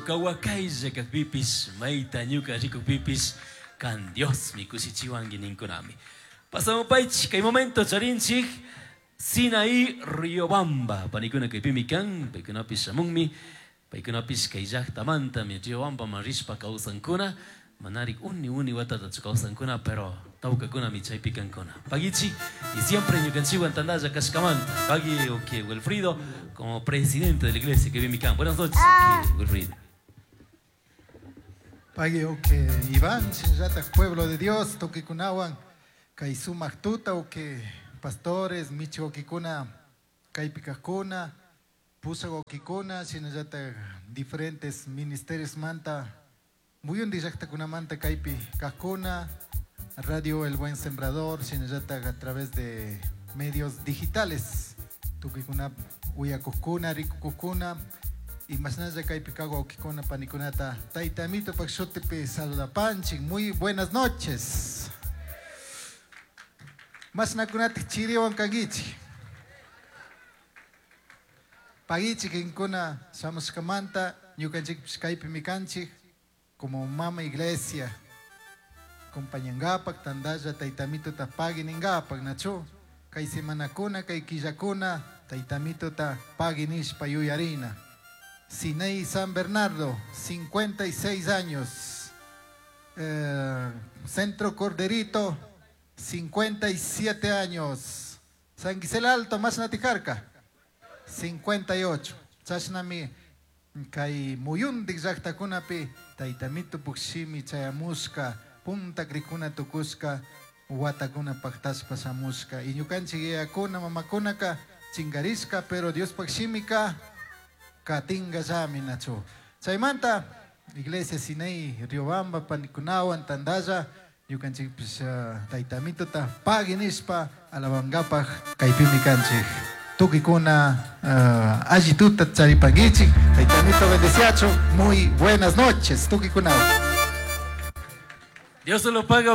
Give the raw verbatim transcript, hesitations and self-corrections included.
Ñuka wakaylla kakpipish, mayta ñuka rikukpipish, kan Diosmi kushichiwanki ninkunami. Pasamupaychik kay momento charinchik Sinaí Riobamba. Panikuna kaypimi kan, paykunapish shamunmi, paykunapish kay llaqtamantami Riobambaman rishpa kawsankuna, manarik uni uni watatachu kawsankuna, pero tawkakunami chaypi kankuna. Pagichi, y siempre ñukanchikwan tandalla kashkamanta. Pagui okay, Wilfrido, como presidente de la iglesia que vive kan. Buenas noches, okay, Wilfrido. Pagui okay, Iván, shinllatak pueblo de Dios, tukikunawan, kay sumak tuta okay, pastores, michiwakikuna, kaypikakuna, pusawakikuna, shinallatak diferentes ministerios manta, muyundi llaqtakunamanta kaypi kajkuna, Radio El Buen Sembrador, shinallatak a través de medios digitales, tukikuna uyakukuna, rikukukuna, y mashnalla kaypi kaq wawkikuna panikunata Tayta Amitopak shutipi saludapanchik. Muy buenas noches. Mashnakunatik chiriwan kankichik. Pagichik inkuna shamushkamanta ñukanchikpish kaypimi kanchik como mama iglesia acompañangapak tandalla Tayta Amitota pagui ningapak nachu kay semanakuna kay killakuna Tayta Amitota pagui nishpa yuyarina. Sinaí San Bernardo, cincuenta y seis años. Eh, Centro Corderito, cincuenta y siete años. San Gisela Alto, Masnatijarca, cincuenta y ocho. Chashnami kay muyundik llaqtakunapi Tayta Amito pukshimi chayamushka, punta krikuna tukushka, watakuna paktashpa shamushka. Y ñukanchik yayakuna, mamakunaka chingarishka, pero Diospaq shimika katinga llami nachu. Chaymanta Iglesia Sinaí Riobamba panikunawan tandalla ñukanchikpish, uh, Tayta Amitota pagui nishpa alabangapak kaypimi kanchik. Tukikuna, uh, alli tuta charipankichik. Tayta Amito bendeciachu. Muy buenas noches, tukikunawan. Dios se lo paga.